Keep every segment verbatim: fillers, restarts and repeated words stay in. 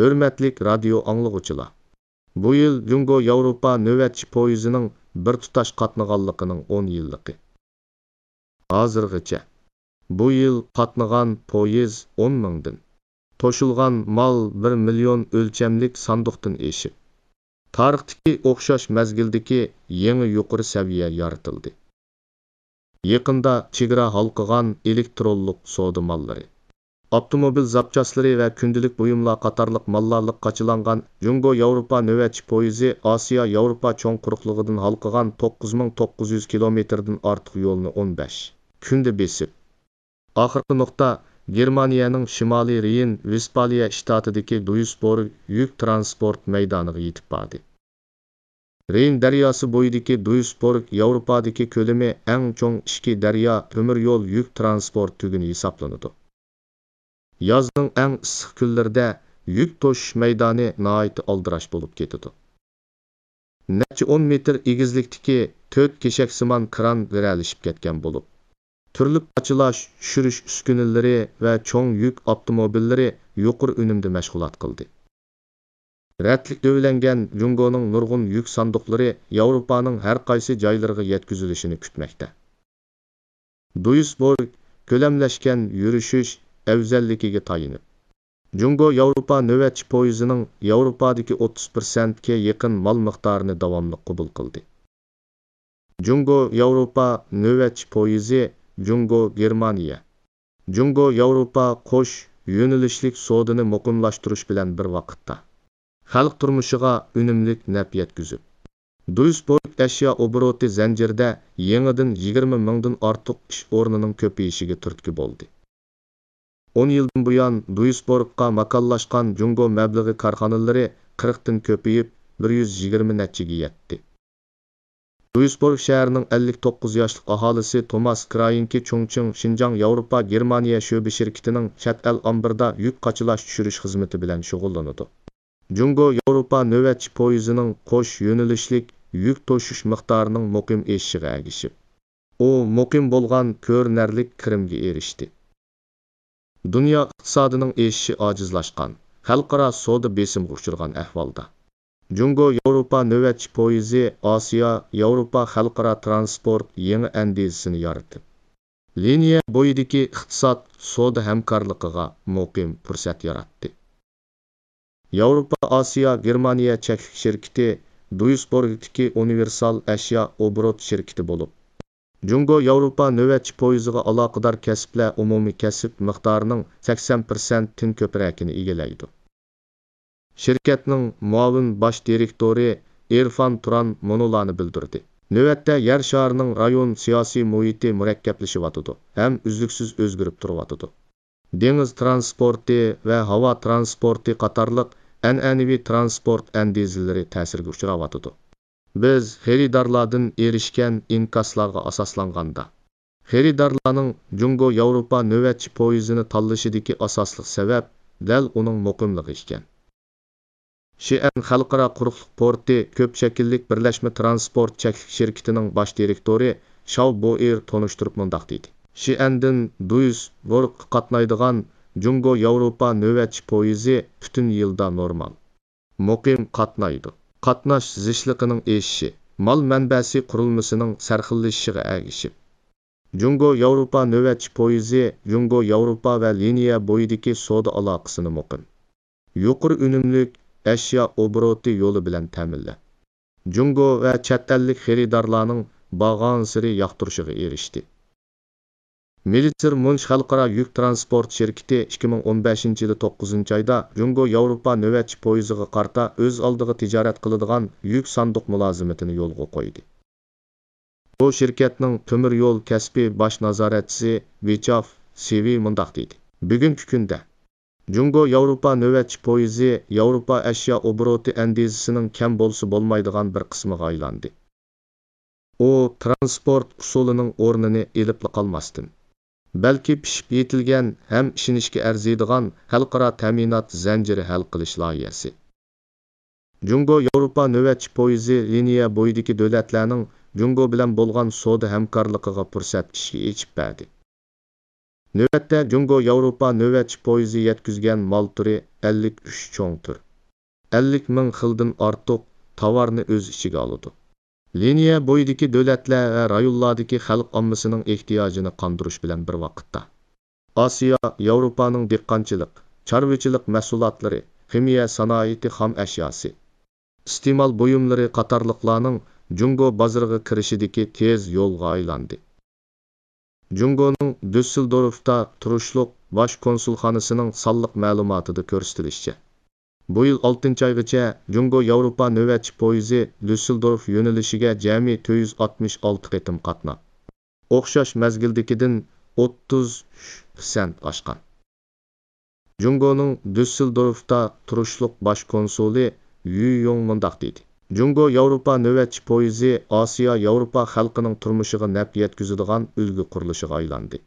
ھۆرمەتلىك رادىيو ئاڭلىغۇچىلار! بۇ يىل جۇڭگو ياۋروپا نۆۋەتچى پويىزىنىڭ بىر تۇتاش قاتنىغانلىقىنىڭ ئون يىللىقى. ھازىرغىچە، بۇ يىل قاتنىغان پويىز ئون مىڭدىن، توشۇلغان مال بىر مىليون ئۆلچەملىك ساندۇقتىن ئېشىپ، تارىختىكى ئوخشاش مەزگىلدىكى يېڭى يۇقىرى سەۋىيە يارىتىلدى. يېقىندا چېگرا ھالقىغان ئېلېكترونلۇق سودا ماللىرى، ئاپتوموبىل زاپچاسلىرى ۋە كۈندىلىك بۇيۇملار قاتارلىق ماللار لىق قاچىلانغان جۇڭگو ياۋروپا نۆۋەتچى پويىزى ئاسىيا ياۋروپا چوڭ قۇرۇقلۇقىدىن ھالقىغان توققۇز مىڭ توققۇز يۈز كىلومېتىردىن ئارتۇق يولنى ئون بەش كۈندە بېسىپ، ئاخىرقى نۇقتا گېرمانىيەنىڭ شىمالىي رېين ۋېستپالىيە شتاتىدىكى دۇيسبورگ يۈك تىرانسپورت مەيدانىغا يېتىپ باردى. رېين دەرياسى بويىدىكى دۇيسبورگ ياۋروپادىكى كۆلىمى ئەڭ چوڭ ئىچكى دەريا تۆمۈر يول يۈك تىرانسپورت تۈگۈنى ھېسابلىنىدۇ. يازنىڭ ئەڭ ئىسسىق كۈنلىرىدە يۈك توشۇش مەيدانى ناھايىتى ئالدىراش بولۇپ كېتىدۇ. نەچچە ئون مېتىر ئېگىزلىكتىكى تۆت كېشەكسىمان كران گىرەلىشىپ كەتكەن بولۇپ، تۈرلۈك قاچىلاش، چۈشۈرۈش ئۈسكۈنىلىرى ۋە چوڭ يۈك ئاپتوموبىللىرى يۇقىرى ئۈنۈمدە مەشغۇلات قىلدى. رەتلىك دۆۋىلەنگەن جۇڭگونىڭ نۇرغۇن يۈك ساندۇقلىرى ياۋروپانىڭ ھەر قايسى جايلىرىغا يەتكۈزۈلۈشىنى كۈتمەكتە. دۇيسبورگ كۆلەملەشكەن يۈرۈشۈش ئەۋزەللىكىگە تايىنىپ، جۇڭگو ياۋروپا نۆۋەتچى پويىزىنىڭ ياۋروپادىكى ئوتتۇز پىرسەنتكە يېقىن مال مىقدارىنى داۋاملىق قوبۇل قىلدى. جۇڭگو ياۋروپا نۆۋەتچى پويىزى جۇڭگو گېرمانىيە، جۇڭگو ياۋروپا قوش يۆنىلىشلىك سودىنى مۇقىملاشتۇرۇش بىلەن بىر ۋاقىتتا، خەلق تۇرمۇشىغا ئۈنۈملۈك نەپ يەتكۈزۈپ، دۇيسبورگ ئەشيا ئوبوروتى زەنجىرىدە يېڭىدىن يىگىرمە مىڭدىن ئارتۇق ئىش ئورنىنىڭ كۆپىيىشىگە تۈرتكە بولدى. ئون يىلدىن بۇيان دۇيسبورگقا ماكانلاشقان جۇڭگو مەبلىغى كارخانىلىرى قىرىقتىن كۆپىيىپ، بىر يۈز يىگىرمە نەچچىگە يەتتى. دۇيسبورگ شەھىرىنىڭ ئەللىك توققۇز ياشلىق ئاھالىسى توماس كراينكى چۇڭچىڭ شىنجاڭ ياۋروپا گېرمانىيە شۆبە شىركىتىنىڭ چەت ئەل ئامبىرىدا يۈك قاچىلاش چۈشۈرۈش خىزمىتى بىلەن شۇغۇللىنىدۇ. جۇڭگو ياۋروپا نۆۋەتچى پويىزىنىڭ قوش يۆنىلىشلىك يۈك توشۇش مىقدارىنىڭ مۇقىم ئېشىشىغا ئەگىشىپ، ئۇ مۇقىم بولغان كۆرۈنەرلىك كىرىمگە ئېرىشتى. دۇنيا ئىقتىسادىنىڭ ئېشىشى ئاجىزلاشقان، خەلقئارا سودا بېسىمغا ئۇچرىغان ئەھۋالدا، جۇڭگو ياۋروپا نۆۋەتچى پويىزى ئاسىيا ياۋروپا خەلقئارا تىرانسپورت يېڭى ئەندىزىسىنى يارىتىپ، لىنىيە بويىدىكى ئىقتىساد سودا ھەمكارلىقىغا مۇقىم پۇرسەت ياراتتى. ياۋروپا ئاسىيا گېرمانىيە چەكلىك شىركىتى دۇيسبورگتىكى ئۇنىۋېرسال ئەشيا ئوبوروت شىركىتى بولۇپ، جۇڭگو ياۋروپا نۆۋەتچى پويىزىغا ئالاقىدار كەسىپلەر ئومۇمىي كەسىپ مىقدارىنىڭ سەكسەن پىرسەنتتىن كۆپرەكىنى ئىگىلەيدۇ. شىركەتنىڭ مۇئاۋىن باش دىرېكتورى ئېرفان تۇران مۇنۇلارنى بىلدۈردى: نۆۋەتتە يەر شارىنىڭ رايون سىياسىي مۇھىتى مۇرەككەپلىشىۋاتىدۇ ھەم ئۈزلۈكسىز ئۆزگىرىپ تۇرۇۋاتىدۇ. دېڭىز تىرانسپورتى ۋە ھاۋا تىرانسپورتى قاتارلىق ئەنئەنىۋى تىرانسپورت ئەندىزىلىرى تەسىرگە ئۇچراۋاتىدۇ. بىز خېرىدارلاردىن ئېرىشكەن ئىنكاسلارغا ئاساسلانغاندا، خېرىدارلارنىڭ جۇڭگو ياۋروپا نۆۋەتچى پويىزىنى تاللىشىدىكى ئاساسلىق سەۋەب دەل ئۇنىڭ مۇقىملىقى ئىكەن. شىئەن خەلقئارا قۇرۇقلۇق پورتى كۆپ شەكىللىك بىرلەشمە تىرانسپورت چەكلىك شىركىتىنىڭ باش دىرېكتورى شاۋ بوئېر تونۇشتۇرۇپ مۇنداق دېدى: شىئەندىن دۇيسبۇرگقا قاتنايدىغان جۇڭگو ياۋروپا نۆۋەتچى پويىزى پۈتۈن يىلدا نورمال، مۇقىم قاتنايدۇ. قاتناش زىچلىقىنىڭ ئېشىشى مال مەنبەسى قۇرۇلمىسىنىڭ سەرخىللىشىشىغا ئەگىشىپ، جۇڭگو ياۋروپا نۆۋەتچى پويىزى جۇڭگو ياۋروپا ۋە لىنىيە بويىدىكى سودا ئالاقىسىنى مۇقىم، يۇقىرى ئۈنۈملۈك ئەشيا ئوبوروتى يولى بىلەن تەمىنلەپ، جۇڭگو ۋە چەت ئەللىك خېرىدارلارنىڭ بارغانسېرى ياقتۇرۇشىغا ئېرىشتى. مېلىتسېر مۇنچ خەلقئارا يۈك تىرانسپورت شىركىتى ئىككى مىڭ ئون بەشىنچى يىلى توققۇزىنچى ئايدا جۇڭگو ياۋروپا نۆۋەتچى پويىزىغا قارىتا ئۆز ئالدىغا تىجارەت قىلىدىغان يۈك ساندۇق مۇلازىمىتىنى يولغا قويدى. بۇ شىركەتنىڭ تۆمۈر يول كەسپى باش نازارەتچىسى ۋىچاف سىۋى مۇنداق دېدى: بۈگۈنكى كۈندە جۇڭگو ياۋروپا نۆۋەتچى پويىزى ياۋروپا ئەشيا ئوبوروتى ئەندىزىسىنىڭ كەم بولسا بولمايدىغان بىر قىسمىغا ئايلاندى. ئۇ تىرانسپورت ئۇسۇلىنىڭ ئورنىنى ئېلىپلا قالماستىن، بەلكى پىشىپ يېتىلگەن ھەم ئىشىنىشكە ئەرزىيدىغان خەلقئارا تەمىنات زەنجىرى ھەل قىلىش لايىھەسى. جۇڭگو ياۋروپا نۆۋەتچى پويىزى لىنىيە بويىدىكى دۆلەتلەرنىڭ جۇڭگو بىلەن بولغان سودا ھەمكارلىقىغا پۇرسەت ئىشىك ئېچىپ بەردى. نۆۋەتتە جۇڭگو ياۋروپا نۆۋەتچى پويىزى يەتكۈزگەن مال تۈرى ئەللىك ئۈچ چوڭ تۈر، ئەللىك مىڭ خىلدىن ئارتۇق تاۋارنى ئۆز ئىچىگە ئالىدۇ. لىنىيە بويىدىكى دۆلەتلەر ۋە رايونلاردىكى خەلق ئاممىسىنىڭ ئېھتىياجىنى قاندۇرۇش بىلەن بىر ۋاقىتتا، ئاسىيا، ياۋروپانىڭ دېھقانچىلىق، چارۋىچىلىق مەھسۇلاتلىرى، خىمىيە سانائىتى خام ئەشياسى، ئىستېمال بۇيۇملىرى قاتارلىقلارنىڭ جۇڭگو بازىرىغا كىرىشىدىكى تېز يولغا ئايلاندى. جۇڭگونىڭ دۈسسېلدورفتا تۇرۇشلۇق باش كونسۇلخانىسىنىڭ سانلىق مەلۇماتىدا كۆرسىتىلىشىچە، بۇ يىل ئالتىنچى ئايغىچە جۇڭگو ياۋروپا نۆۋەتچى پويىزى دۈسسېلدورف يۆنىلىشىگە جەمئىي تۆت يۈز ئاتمىش ئالتە قېتىم قاتناپ، ئوخشاش مەزگىلدىكىدىن ئوتتۇز ئۈچ پىرسەنت ئاشقان. جۇڭگونىڭ دۈسسېلدورفتا تۇرۇشلۇق باش كونسۇلى يۈ يوڭ مۇنداق دېدى: جۇڭگو ياۋروپا نۆۋەتچى پويىزى ئاسىيا ياۋروپا خەلقىنىڭ تۇرمۇشىغا نەپ يەتكۈزىدىغان ئۈلگە قۇرۇلۇشىغا ئايلاندى.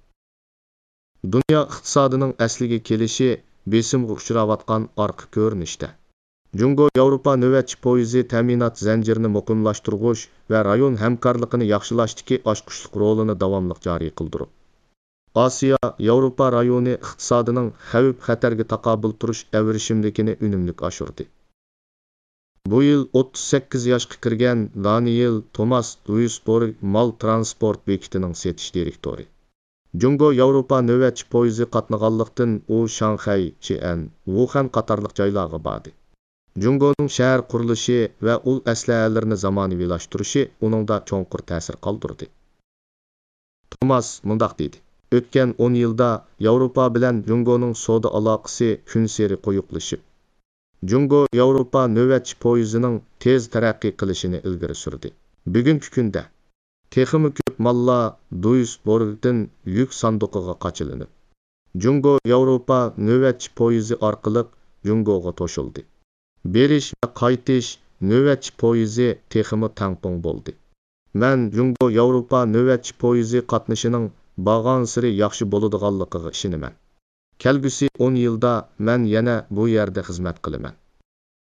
دۇنيا ئىقتىسادىنىڭ ئەسلىگە كېلىشى بېسىمغا ئۇچراۋاتقان ئارقا كۆرۈنۈشتە، جۇڭگو ياۋروپا نۆۋەتچى پويىزى تەمىنات زەنجىرىنى مۇقىملاشتۇرغۇچ ۋە رايون ھەمكارلىقىنى ياخشىلاشتىكى ئاچقۇچلۇق رولىنى داۋاملىق جارى قىلدۇرۇپ، ئاسىيا ياۋروپا رايونى ئىقتىسادىنىڭ خەۋپ-خەتەرگە تاقابىل تۇرۇش ئەۋرىشىملىكىنى ئۈنۈملۈك ئاشۇردى. بۇ يىل ئوتتۇز سەككىز ياشقا كىرگەن دانىيېل توماس دۇيسبورگ مال تىرانسپورت بېكىتىنىڭ سېتىش دىرېكتورى، جۇڭگو ياۋروپا نۆۋەتچى پويىزى قاتنىغانلىقتىن، ئۇ شاڭخەي، شىئەن، ۋۇخەن قاتارلىق جايلارغا باردى. جۇڭگونىڭ شەھەر قۇرۇلۇشى ۋە ئۇل ئەسلىھەلىرىنى زامانىۋىلاشتۇرۇشى ئۇنىڭدا چوڭقۇر تەسىر قالدۇردى. توماس مۇنداق دېدى: ئۆتكەن ئون يىلدا ياۋروپا بىلەن جۇڭگونىڭ سودا ئالاقىسى كۈنسېرى قويۇقلىشىپ، جۇڭگو ياۋروپا نۆۋەتچى پويىزىنىڭ تېز تەرەققىي قىلىشىنى ئىلگىرى سۈردى. بۈگۈنكى كۈندە، تېخىمۇ كۆپ ماللار دۇيسبورگدىن يۈك ساندۇقىغا قاچىلىنىپ، جۇڭگو ياۋروپا نۆۋەتچى پويىزى ئارقىلىق جۇڭگوغا توشۇلدى. بېرىش ۋە قايتىش نۆۋەتچى پويىزى تېخىمۇ تەڭپۇڭ بولدى. مەن جۇڭگو ياۋروپا نۆۋەتچى پويىزى قاتنىشىنىڭ بارغانسېرى ياخشى بولىدىغانلىقىغا ئىشىنىمەن. كەلگۈسى ئون يىلدا مەن يەنە بۇ يەردە خىزمەت قىلىمەن.